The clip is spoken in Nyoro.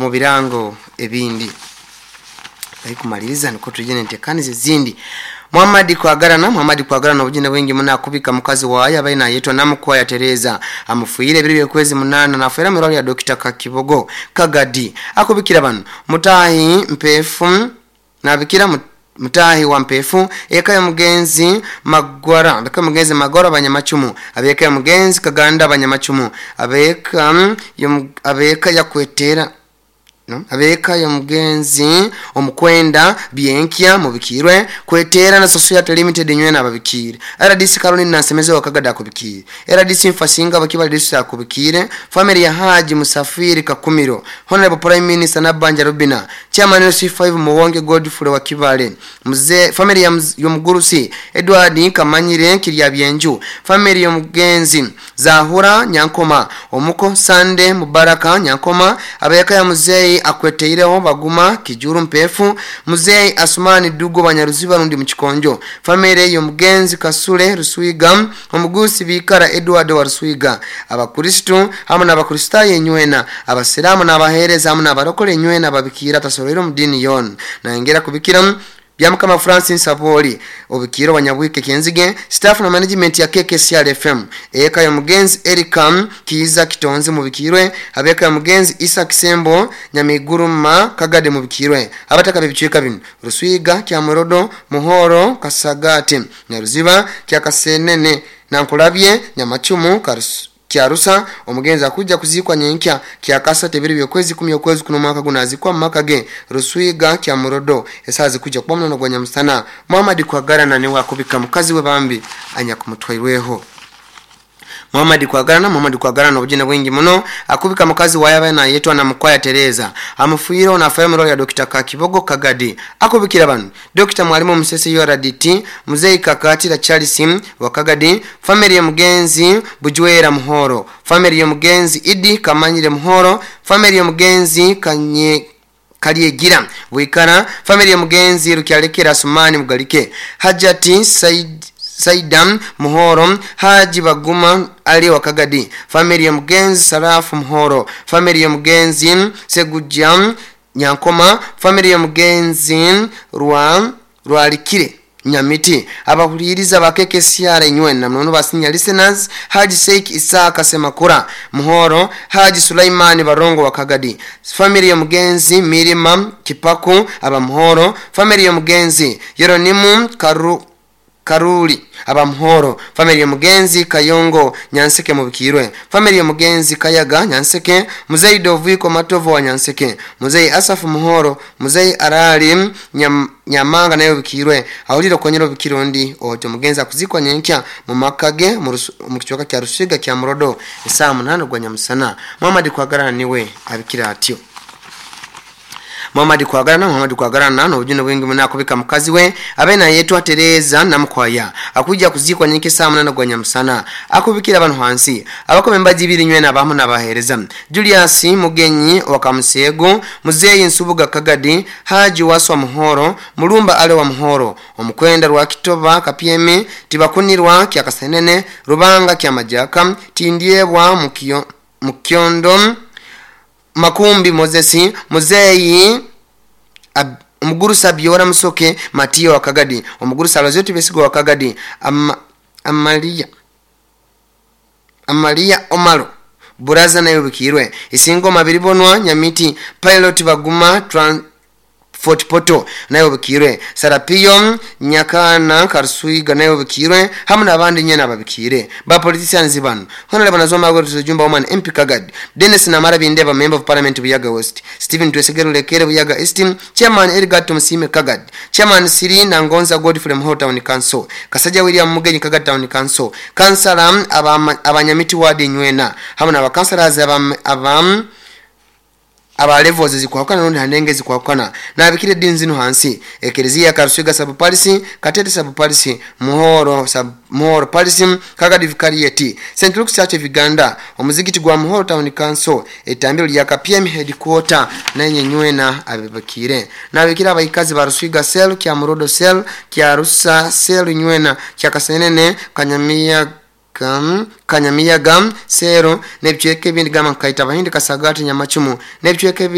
Omu birango ebindi kumaliriza niko tujene entekaniza ezindi. Muhammad Kwagarana, Muhammad Kwagarana, obujine bwingi muno akubika mukazi waye abaye nayetwa Namukwaya Tereza, amufuire ebiro by'okwezi 8, nafuira mu irwaliro lya Dr. Kakibogo Kagadi. Akubikira bano mutahi mpefu nabikira mutahi wa mpefu eka ya mugenzi Magwara, eka mugenzi Magwara Abanyamacumu, abeka ya mugenzi Kaganda Abanyamacumu, abeka ya kwetera no? Abeka ya mugenzi omukwenda Byenkya mubikirwe kwetera na Society Limited nywena ababikire. RDC Caroline Nasemeze wakagada akubikire. RDC Mfasinga bakiba RDC akubikire. Family ya Haji Musafiri Kakumiro, Honorable Prime Minister Nabanja Rubina, Chairman C5 Muwonge Godfrey wa Kibale, Mzee family ya Mugurusi Edward Kamanyire Kirya Byenju, family ya mugenzi Zahura Nyankoma, Omuko Sande Mubaraka Nyankoma, abeka ya mzee akweteireho Baguma Kijuru Mpefu, Mzee Asumani Dugo Banyaruziba rundi Muchikonjo, family y'omugenzi Kasule Ruswiga, omugusi Bikara Edward wa Ruswiga, abakristo hamwe n'abakristayo enywena, abasiramu n'abahereza hamwe n'abarokole enywena babikira tasorero mu dini yon nangera kubikira Byamukama Francis Saboli obikiro Banyabwike Kenzige, staff na management ya KKCR FM, eka ya mugenzi Erikam Kiza Kitonze mubikirwe, abeka ya mugenzi Isa Kisembo Nyamiguruma Kagade mubikirwe, abataka bibicika bino Ruswiga Kyamurodo Muhoro Kasagate Nyaruziba Kyakasenene Nankulabye Nyamacumu Karusu Kyarusa. Omugenzi akuja kuzikwa nyenkya kyakasa tebiri byokwezi 10 okwezi kuno mwaka gunazikwa makage Ruswiga Kyamurodo esazi kuja kuba munono gwa nyamusana. Muhammad Kwagarana niwe akubika mukazi we bambi anya kumutwairweho. Muhammad Kwagarana, Muhammad Kwagarana obujina bwingi muno akubika mukazi waye abaye nayetwa na Mukwaya Tereza, amufuire na family ya Dr. Kakibogo Kagadi. Akubikira bano Dr. Mwalimu Musese URDT, Mzee Kakatira Charles wa Kagadi, family ya mugenzi Bujwera Muhoro, family ya mugenzi Idi Kamanyire Muhoro, family ya mugenzi Kanye Kaliegira Wikara, family ya mugenzi Rukyalekera Sumani Mugalike, Hajati Said Saidam Muhoro, Haji Baguma Ali wa Kagadi, family ya mugenzi Sarafu Muhoro, family ya mugenzi Segujam Nyankoma, family ya mugenzi Rwalikire Nyamiti, abahuliriza ba KKCR nywena mnono basinya listeners, Haji Sheikh Isaka Semakura Muhoro, Haji Sulaimani Barongo wa Kagadi, family ya mugenzi Mirima Kipaku aba Muhoro, family ya mugenzi Yeronimu Karuli aba Muhoro, family ya mugenzi Kayongo Nyanseke mubikirwe, family ya mugenzi Kayaga Nyanseke, Muzei Doviko Matovo wa Nyanseke, Muzei Asafu Muhoro, Muzei Arali Nyamanga nayo bikirwe, awulira konyero bikirondi oto mugenzi akuzikwa nyenkya mu makage mu kichwaka kya Rusiga kya Murodo saa 8 gwa nyamusana. Muhammad Kwagarana niwe abikira atyo. Muhammad Kwagarana, Muhammad Kwagarana n'obujune bwingi muno akubika mukazi we abe nayetwa Tereza Namukwaya, akuja kuzikwa nyenke saa 8 gwa nyamusana. Akubikira abantu hansi abakome mbaji ibiri nywena abamu n'abahereza Julius Mugenyi wa Kamusego, Muzeyi Nsubuga Kagadi, Haji Waswa Muhoro, Mulumba Ale wa Muhoro, Omukwenda rwa Kitoba Kapyeme, Tibakunirwa Kyakasenene, Rubanga Kyamajaka, Tindyebwa Mukyondo, Makumbi Moses, Muzeyi Omugurusa Biora Musoke Matiyo wa Kagadi, Omugurusa Alozeti Besigo wa Kagadi, Amalia Omaro Buraza nayo bikirwe, Isingoma Biribonwa Nyamiti, Pilot Baguma Fort Poto nayo bikirwe, Sarapiyo Nyakana Karsuiga nayo bikirwe, hamwe n'abandi nyene ababikire ba politicians bano. Honorable Nazoma Godfrey Jumba Woman MP Kagadi, Dennis Namara Bindeba Member of Parliament Buyaga West, Stephen Twesegeru Lekere Buyaga East, Chairman Edgar Tumsime Kagadi, Chairman Siri Nangonza Godfrey Muhoro Town Council, Kasaja William Mugenyi Kagadi Town Council, Kansala abanyamiti ward nywena hamwe n'abakansalazi aba levels zikwakana nundi hanenge zikwakana nabikire dini zino hansi Eklezia Karuswiga sub parisi, Katete sub parisi, Muhoro sub Muhoro parisi, Kagadi Vicariate, St. Luke's Church of Uganda, omuzigiti gwa Muhoro Town Council, etambiro lya KPM headquarter nenye nywena abibakire. Nabikira abayikazi ba Ruswiga cell, kya Murodo cell, kya Rusa cell nywena, kya Kasenene, Kanyamiya Kanyamiyaga sero, n'ebicweka ebindi gamba nkaita Abahindi Kasagati Nyamacumu, n'ebicweka ebindi.